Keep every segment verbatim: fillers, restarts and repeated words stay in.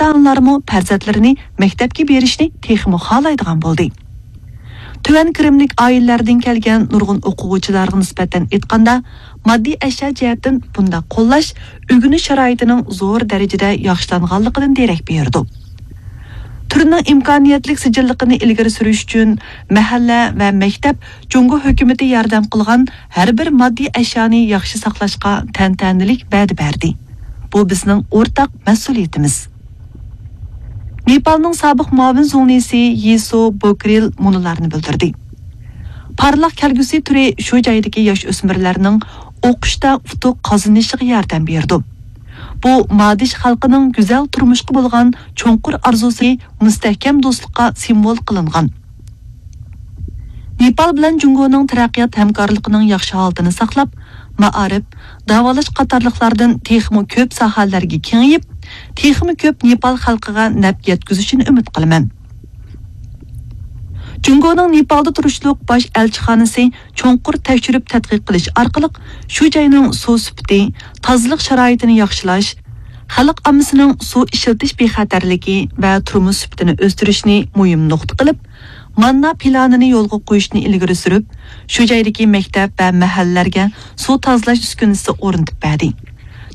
ئاتا-ئانىلارمۇ پەرزەنتلىرىنى مەكتەپكە بېرىشنى تېخىمۇ خالايدىغان بولدى. تۆۋەن كىرىملىك ئائىلىلەردىن كەلگەن نۇرغۇن ئوقۇغۇچىلارغا نىسبەتەن ئېيتقاندا، ماددىي ئەشيا جەھەتتىن بۇنداق قوللاش ئۆگىنىش شارائىتىنىڭ زور دەرىجىدە ياخشىلانغانلىقىدىن دېرەك بېرىدۇ. تۈرنىڭ ئىمكانىيەتلىك سىجىللىقىنى ئىلگىرى سۈرۈش ئۈچۈن، مەھەللە ۋە مەكتەپ جۇڭگو ھۆكۈمىتى ياردەم قىلغان ھەر بىر ماددىي ئەشيانى ياخشى ساقلاشقا تەنتەنىلىك ۋەدە بەردى. بۇ بىزنىڭ ئورتاق مەسئۇلىيىتىمىز. نېپالنىڭ سابىق مۇئاۋىن زۇڭلىسى يىسۇ بوكرىل مۇنۇلارنى بىلدۈردى: پارلاق كەلگۈسى تۈرى شۇ جايدىكى ياش ئۆسمۈرلەرنىڭ ئوقۇشتا ئۇتۇق قازىنىشىغا ياردەم بېرىدۇ. بۇ مادىش خەلقىنىڭ گۈزەل تۇرمۇشقا بولغان چوڭقۇر ئارزۇسى مۇستەھكەم دوستلۇققا سىمۋول قىلىنغان. نېپال بىلەن جۇڭگونىڭ تەرەققىيات ھەمكارلىقىنىڭ ياخشى ھالىتىنى ساقلاپ، مائارىپ، داۋالاش قاتارلىقلاردىن تېخىمۇ كۆپ ساھەلەرگە كېڭىيىپ، تېخىمۇ كۆپ نېپال خەلقىگە نەپ يەتكۈزۈشىنى ئۈمىد قىلىمەن. جۇڭگونىڭ نېپالدا تۇرۇشلۇق باش ئەلچىخانىسى چوڭقۇر تەكشۈرۈپ تەتقىق قىلىش ئارقىلىق شۇ جاينىڭ سۇ سۈپىتى، تازىلىق شارائىتىنى ياخشىلاش، خەلق ئاممىسىنىڭ سۇ ئىشلىتىش بىخەتەرلىكى ۋە تۇرمۇش سۈپىتىنى ئۆستۈرۈشنى مۇھىم نۇقتا قىلىپ، ماننا پىلانىنى يولغا قويۇشنى ئىلگىرى سۈرۈپ، شۇ جايدىكى مەكتەپ ۋە مەھەللىلەرگە سۇ تازىلاش ئۈسكۈنىسى ئورنىتىپ بەردى.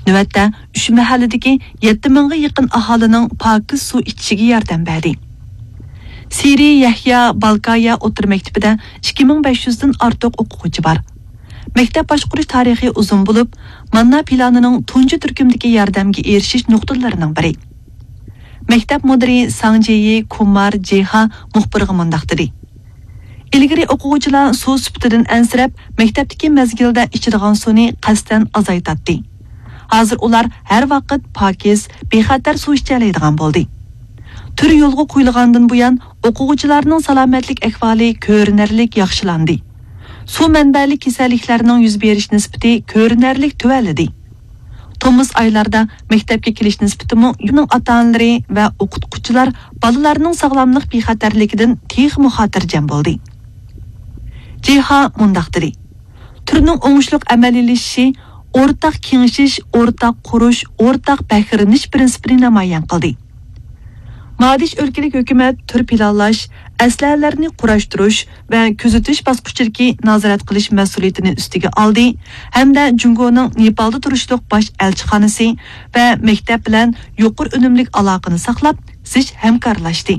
نۆۋەتتە ئۈچ مەھەللىدىكى يەتتە مىڭغا يېقىن ئاھالىنىڭ پاكىز سۇ ئىچىشىگە ياردەم بەردى. سىرى يەھيا بالكايا ئوتتۇرا مەكتىپىدە ئىككى مىڭ بەش يۈزدىن ئارتۇق ئوقۇغۇچى بار. مەكتەپ باشقۇرۇش تارىخى ئۇزۇن بولۇپ، ماننا پىلانىنىڭ تۇنجى تۈركۈمدىكى ياردەمگە ئېرىشىش نۇقتىلىرىنىڭ بىرى. مەكتەپ مۇدىرى ساڭ جېيى كۇمار جېھا مۇخبىرغا مۇنداق دېدى: ئىلگىرى ئوقۇغۇچىلار سۇ سۈپىتىدىن ئەنسىرەپ، مەكتەپتىكى مەزگىلدە ئىچىدىغان سۇنى قەستەن ئازايتاتتى. ھازىر ئۇلار ھەر ۋاقىت پاكىز، بىخەتەر سۇ ئىچەلەيدىغان بولدى. تۈر يولغا قويۇلغاندىن بۇيان، ئوقۇغۇچىلارنىڭ سالامەتلىك ئەھۋالى كۆرۈنەرلىك ياخشىلاندى. سۇ مەنبەلىك كېسەللىكلەرنىڭ يۈز بېرىش نىسبىتى كۆرۈنەرلىك تۆۋەنلىدى. تومۇز ئايلاردا مەكتەپكە كېلىش نىسبىتىمۇ يۇرتنىڭ ئاتا-ئانىلىرى ۋە ئوقۇتقۇچىلار بالىلارنىڭ ساغلاملىق بىخەتەرلىكىدىن تېخىمۇ خاتىرجەم بولدى. جىھا مۇنداق دېدى: تۈرنىڭ ئوڭۇشلۇق ئەمەلىيلىشىشى ئورتاق كېڭىشىش، ئورتاق قۇرۇش، ئورتاق پەخىرلىنىش پىرىنسىپىنى نامايان قىلدى. مادىش ئۆلكىلىك ھۆكۈمەت تۈر پىلانلاش، ئەسلىھەلەرنى قۇراشتۇرۇش ۋە كۆزىتىش باسقۇچىدىكى نازارەت قىلىش مەسئۇلىيىتىنى ئۈستىگە ئالدى ھەمدە جۇڭگونىڭ نېپالدا تۇرۇشلۇق باش ئەلچىخانىسى ۋە مەكتەپ بىلەن يۇقىرى ئۈنۈملۈك ئالاقىنى ساقلاپ، زىچ ھەمكارلاشتى.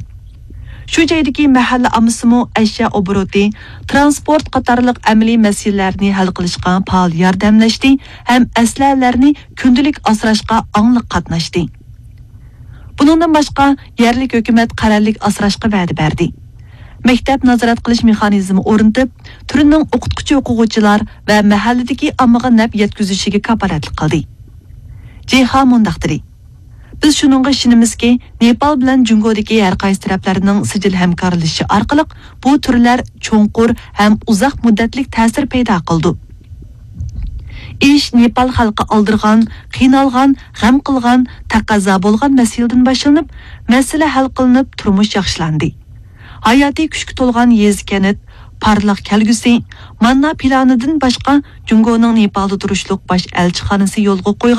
شۇ جايدىكى مەھەللە ئاممىسىمۇ ئەشيا ئوبوروتى، تىرانسپورت قاتارلىق ئەمەلىي مەسىلىلەرنى ھەل قىلىشقا پائال ياردەملەشتى ھەم ئەسلىھەلەرنى كۈندىلىك ئاسراشقا ئاڭلىق قاتناشتى. بۇنىڭدىن باشقا، يەرلىك ھۆكۈمەت قەرەللىك ئاسراشقا ۋەدە بەردى. مەكتەپ نازارەت قىلىش مېخانىزمى ئورنىتىپ، تۈرنىڭ ئوقۇتقۇچى ئوقۇغۇچىلار ۋە مەھەللىدىكى ئاممىغا نەپ يەتكۈزۈشىگە كاپالەتلىك قىلدى. جىھا مۇنداق دېدى: بىز شۇنىڭغا ئىشىنىمىزكى، نېپال بىلەن جۇڭگودىكى ھەر قايسى تەرەپلەرنىڭ سىجىل ھەمكارلىشىشى ئارقىلىق بۇ تۈرلەر چوڭقۇر ھەم ئۇزاق مۇددەتلىك تەسىر پەيدا قىلىدۇ. ئىش نېپال خەلقى ئالدىرىغان، قىينالغان، غەم قىلغان، تەقەززا بولغان مەسىلىدىن باشلىنىپ، مەسىلە ھەل قىلىنىپ، تۇرمۇش ياخشىلاندى. ھاياتىي كۈچكە تولغان يېزا-كەنت، پارلاق كەلگۈسى، ماننا پىلانىدىن باشقا، جۇڭگونىڭ نېپالدا تۇرۇشلۇق باش ئەلچىخانىسى يولغا قويغان